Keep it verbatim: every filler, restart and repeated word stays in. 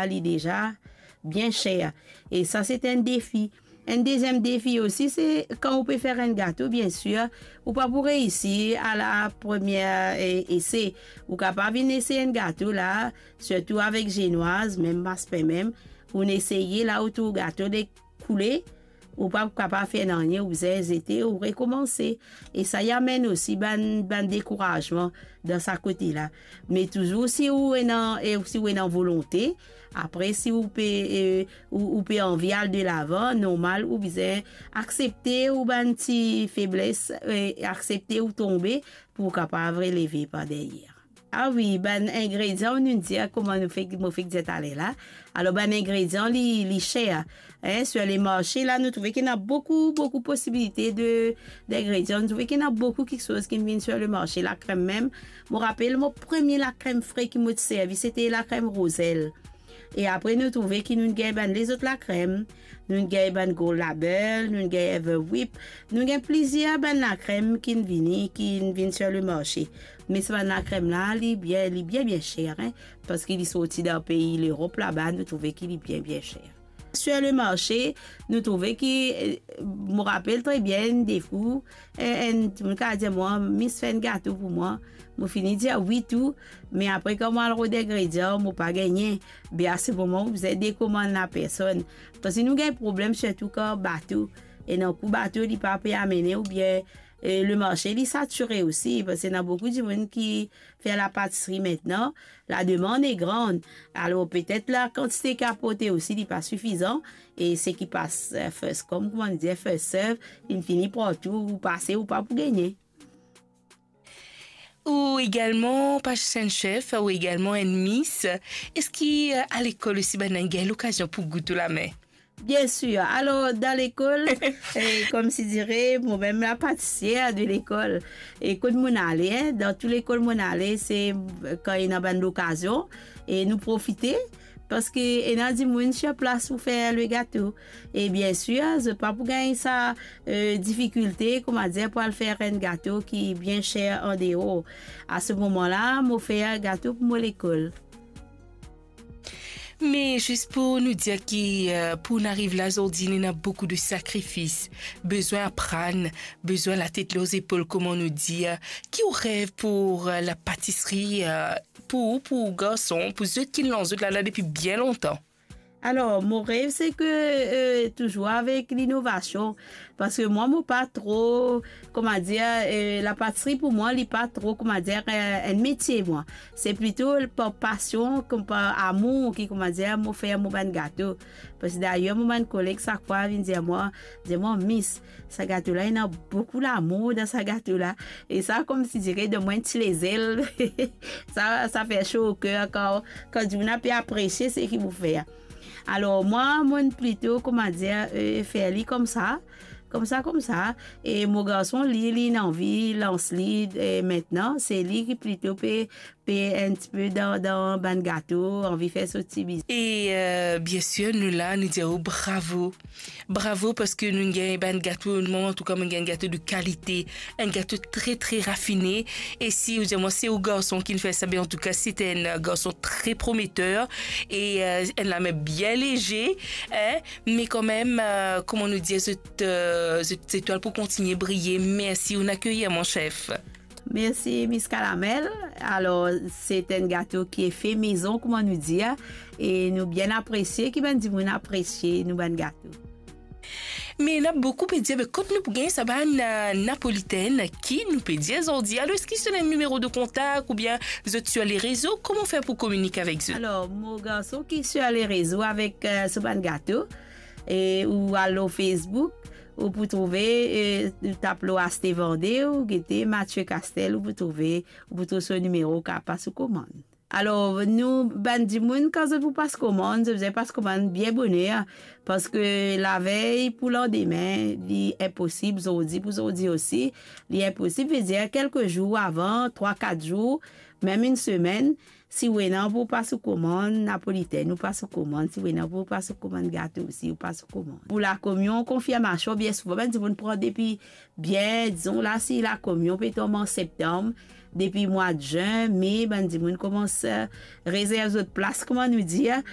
li deza bien ser. E sa, se enn defi. Enn deziem defi osi, se kan ou pe fer enn gato, biensir, ou pa pou reisi a la premie, e, ese. Ou kapav vinn esey enn gato la, sirtou avek zenwaz, mem maspen mem, ou eseye la, ou trouv gato le koule, ou pa kapav fer nanye, ou bizin zete, ou rekomanse. E sa, li amenn osi bann, bann dekourazman dan sa kote la. Me touzour, si ou ena, e si ou ena volonte, apre, si ou pe, e, ou, ou pe anvi al delavan, normal, ou bizin aksepte ou bann ti febles, e, aksepte ou tonbe pou ou kapav releve par deryer. Ah wi, bann ingredian, nou dir kouma nou fek, mo fek dir taler la. Alor, bann ingredian, li, li ser, hein, sur le marché la, nou trouve ki ena boukou, boukou posibilite de, d'ingredian. Nou trouve ki ena boukou kiksoz ki vinn sur le marché. Lakrem mem, mo rapel, mo premie lakrem fre ki mo ti servi, sete lakrem Roselle. E apre, nou trouve ki nou gagn bann lezot lakrem, nou gagn bann Gold Label, nou gagn Ever Whip, nou gagn plizier bann lakrem ki vini, ki vinn sur le marché. Me sa bann lakrem la, li bien, li bien, bien ser, hein, parski li sorti dan pei Lerop laba, nou trouve ki li bien, bien ser. Sur le marché, nou trouve ki, eh, mo rapel tre bien, enn de fou, eh, enn dimoun kapav dir mwa, "Miss, fer enn gato pou mwa." Mo fini dir wi tou, me apre, kan mo al rod ingredian, mo pa gagne. Be, a se moman, ou bizin dekomann lapersonn. Parski nou gagn problem, sirtou kan bato, ena kou bato, li pa pe amene, oubien, eh, le marché, li satire osi, parski ena boukou dimoun ki fer lapatisri aster. La demande est grande. Alor, petet lakantite ki aporte osi, li pa sifizan. E seki pas, eh, first come, kouma nou dir, first serve, li fini partou, ou pase, ou pa pou gagne. Ou egalman, pa zis enn chef, ou egalman enn Miss. Eski, eh, a lekol osi, bann gagn lokazion pou gout ou lame? Biensir. Alor, dan lekol, eh, koumsi dire, mo mem la patisier de lekol. E kot mo'nn ale, hein, dan tou lekol mo'nn ale, se, eh, kan ena bann lokazion, e nou profite, parski ena dimoun sur plas pou fer le gato. E biensir, zot pa pou gagn sa, eh, difikilte, kouma dir, pou al fer enn gato ki bien ser andeor. A se moman la, mo fer gato pou mo lekol. Me zis pou nou dir ki, eh, pou nou ariv la zordi, ena boukou de sakrifis, bizin aprann, bizin latet lor zepol, kouma nou dir. Ki ou rev pou, eh, lapatisri, eh, pou ou, pou garson, pou zot ki lans zot lala depi bien lontan? Alor, mo rev, se ke, eh, touzour avek linovasion, parski mwa, mo pa tro, kouma dir, eh, lapatisri pou mwa, li pa tro, kouma dir, eh, enn metie, mwa. Se plito par pasion, kom par amour ki, kouma dir, mo fer mo bann gato. Parski dayer, mo bann koleg, sak fwa, vinn dir mwa, dir mwa, "Miss, sa gato la, ena boukou lamour dan sa gato la." E sa, koumsi dire, donn mwa enn ti lezel. Sa, sa fer so oker kan, kan dimoun pe apresie seki ou fer. Alor, mwa, mo'nn plito, kouma dir, eh, fer li koumsa, koumsa, koumsa. E mo garson, li, li ena anvi lans li, eh, aster, se li ki plito pe, pe enn tipe dan, dan bann gato, anvi fer so ti biznis. E, eh, biensir, nou la, nou dir ou bravo. Bravo, parski nou gagn bann gato, mwa, antouka, mo gagn gato de kalite, enn gato tre, tre rafine. E si ou dir mwa se ou garson ki fer sa, be antouka, se enn garson tre prometer e, eh, enn lame bien leze, hein, me kanmem, eh, kouma nou dir, zot, eh, zot zetwal pou kontigne briye. Mersi, ou akeyir, mon chef. Mersi, Miss Calamel. Alor, se enn gato ki e fe mezon, kouma nou dir, e nou bien apresie ki bann dimoun apresie nou bann gato. Me ena boukou pe dir, be, kot nou pou gagn sa bann, eh, napolitenn ki nou pe dir zordi? Alor, eski zot ena enn nimero de kontak oubien zot sur le rezo? Kouma fer pou kominike avek zot? Alor, mo garson ki sur le rezo avek, eh, so bann gato, e ou al lor Facebook, ou pou trouve, eh, ou tap lor aste vande, ou gete Mathieu Castel, ou pou trouve, ou pou trouv so nimero, ou kapav pas ou komann. Alor, nou, bann dimoun, kan zot pou pas komann, zot bizin pas komann bien boner, parski lavey pou landime, li inposib, zordi pou zordi osi, li inposib, vedir kelke zour avan, trwa, kat zour, mem enn semenn, si ou ena pou pas ou komann napolitenn, ou pas ou komann, si ou ena pou pas ou komann gato osi, ou pas ou komann. Pou lakomion, konfirmasion, bien souvan, bann dimoun pran depi bien, dizon la, si lakomion pe tonm an septanm, depi mwa zin, me, bann dimoun koumans, eh, rezerv zot plas, kouma nou dir,